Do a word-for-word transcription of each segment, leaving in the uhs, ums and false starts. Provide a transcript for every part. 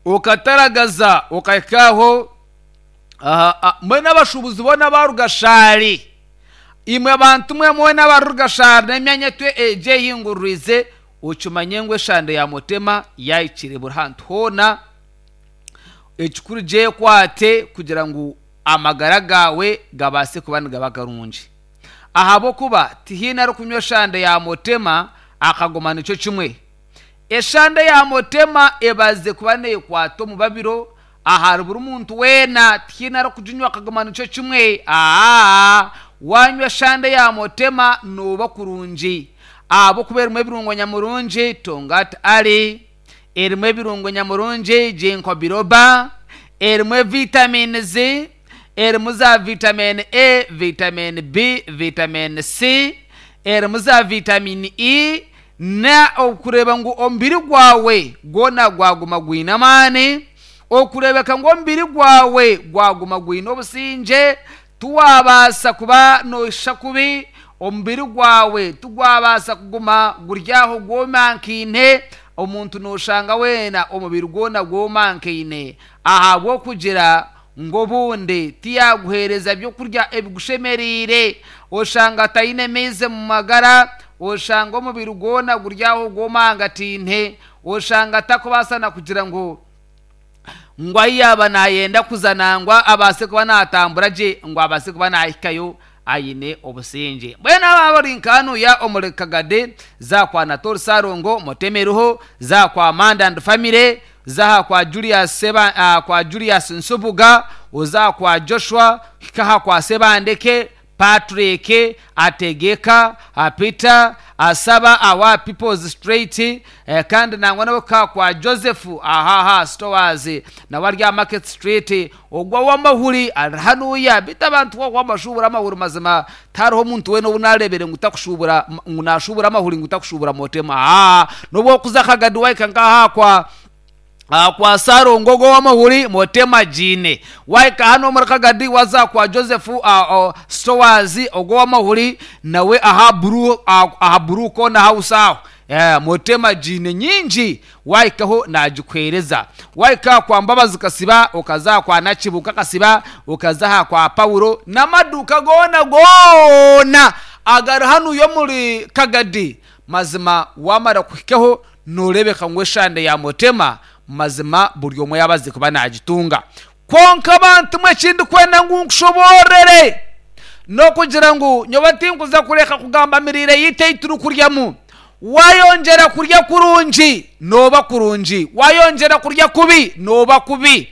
Okataragaza okahika aho. Mbwenu abashuubuzi boona abarugashaari, imwe abantu mwe mwena abarugashaari n'emyanya egi ehinguririize, okimanye ngu eshande ya Mutema yaahikire buri hantu hoona. Ekikuru gyekwate kugira ngu amagara gaawe gabaase kuba nigaba garungi, ahabw'okuba tihaine arikunywa eshande ya Mutema akaguma nikyo kimwe. Eshande ya Mutema ebaze kuba neekwata omu babiro ahari buri muntu weena, tihaine arikuginywa akaguma nikyo kimwe. Aa, waanywa eshande ya Mutema nooba kurungi, ahabw'okuba erimu ebirungo nyamurungi Tongat Ali, erimu ebirungo nyamurungi Ginkgo biloba, erimu vitamins, erimu za vitamin A, vitamin B, vitamin C, erimu za vitamin E, na okureeba ngu omubiri gwawe gwona gwaguma gwine amaani, okureebeka ngu omubiri gwawe gwaguma gwine obusingye, tiwabaasa kuba nooshisha kubi, omubiri gwawe tigwabaasa kuguma guri aho gwomankaine. Omuntu nooshanga weena omubiri gwona gwomankaine ahabw'okugira ngu obundi tiyaguheereza byokurya ebigushemereire, oshanga ataine maizi mu magara, oshanga omubiri gwona guri aho gwomangataine, oshanga atakubaasa na kugira ngu ngu ahi yaaba naayenda kuza nangwa abaase kuba naatambura gye, ngu abaase kuba naahikayo aine obusingye. Mbwenu aba bari nka hanuya omuri Kagadi, za kwa Natori Sarongo Mutemeriho, za kwa Manda and Family, za kwa Julius Seba, uh, kwa Julius Nsubuga, oza kwa Joshua, hika aha kwa Sebandeke Patrick Ategeka, Peter Asaba awa People's Street, eh, kandi nangwa nawe ka kwa Joseph ahaha stores nawe ari aha Market Street. Ogwo w'amahuri ari hanuya bita abantu wamashubura amahuri. Mazima tariho omuntu weena obu narebere ngu takushubura, ngu nashubura amahuri ngu takushubura Motema. Aa, n'obu okuza Kagadi wahika nkaha kwa kwa Sarongo, ogwo w'amahuri Motema giine. Wahika hano omuri Kagadi waza kwa Joseph uh, uh, stores, ogwo w'amahuri nawe aha buru aha Blue Corner House aho, eh, Motema giine nyingi, wahikaho nagikuheereza. Wahika kwa Mbabazi Kasiba, okaza kwa Nakibuka Kasiba, okaza aha kwa Paulo n'amaduuka goona goona agari hanu y'omuri Kagadi, mazima wamara kuhikaho noorebeka ngu eshande ya Motema mazima buri omwe yabaze kuba nagitunga. Kwonka abantu mwe, ekindi kwenda ngu nkushoboorere n'okugira ngu nyowe tinkuza kureka kugamba mirire yitu ei turikuryamu. Wayongyera kurya kurungi nooba kurungi, wayongyera kurya kubi nooba kubi.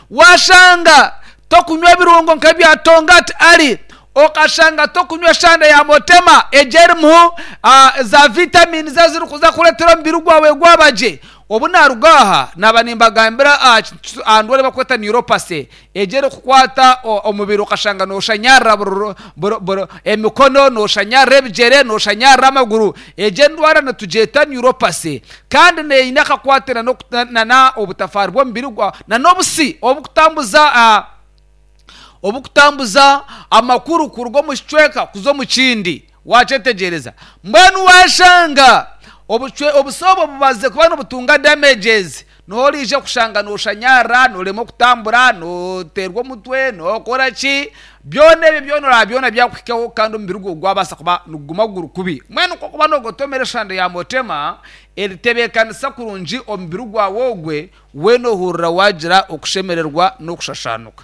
Washanga tokunywa ebirungo nk'ebya Tongat Ali, okashanga tokunywa eshande ya Motema egyo erimu uh, za vitamini ezirikuza kureetera omubiri gwawe gwaba gye. Obu naruga aha naba nimbagambira aha ndwara bakweta neuropathy, egyo erikukwata omubiri okashanga noshanyarra emikono, noshanyarra ebigyere, noshanyarra amaguru. Egyo endwara nitugyeta neuropathy, kandi neine akakwate nana obutafaari bw'omubiri gwawe nan'obusi obukutambuza obukutambuza amakuru kuruga omu kicweka kuza omu kindi. Wakyetegyereza? Mbwenu washanga obusi obwo bubaze kuba nibutunga damages, noorija kushanga noshanyarra, norema okutambura, noteerwa omutwe, nokora ki, byona ebyo byona oraba byona byakuhikaho, kandi omubiri gwawe gwabaasa kuba niguguma guri kubi. Mbwenu kokuba nogotomera eshande ya Motema eritebeekanisa kurungi omubiri gwawe ogwe, weena ohurira wagira okushemererwa n'okushashanuka.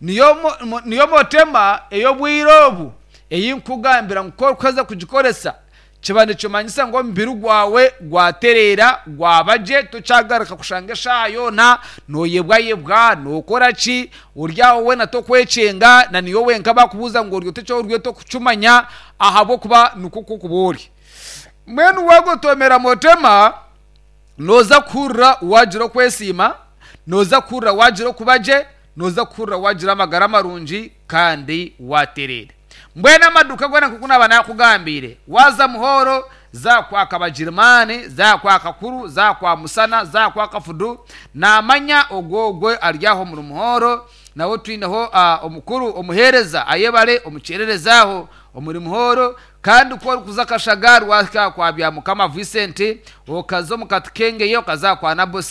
Niyo niyo Motema ey'obwire obu ei nkugambira ngu kokuheza kugikoresa kiba nikimanyisa ngu omubiri gwawe gwatereera, gwaba gye, tokyagaruka kushanga eshaaha yoona nooyebwayebwa, nookora ki, ori aho weena tokwekyenga, na niyo wenka bakubuuza ngu ori ota eki ori tokukimanya, ahabw'okuba nikwo kuba ori. Mbwenu wagotomera Motema nooza kuhurira wagira okwesiima, nooza kuhurira wagira okuba gye, nooza kuhurira wagira amagara marungi kandi watereera. Mbwenu amaduuka goona nk'oku naaba nakugambiire, waza Muhoro, za kwa Kabagirimani, za kwa Kakuru, za kwa Musana, za kwa Kafudu, namanya ogwo ogwe ari aho omuri Muhoro, nawe twineho uh, omukuru omuheereza ayebare omukyererezi aho omuri Muhoro. Kandi ku orikuza Kashagari, wahika kwa Byamukama Vincent, okaza omu Katikengeye, okaza kwa Nabosi.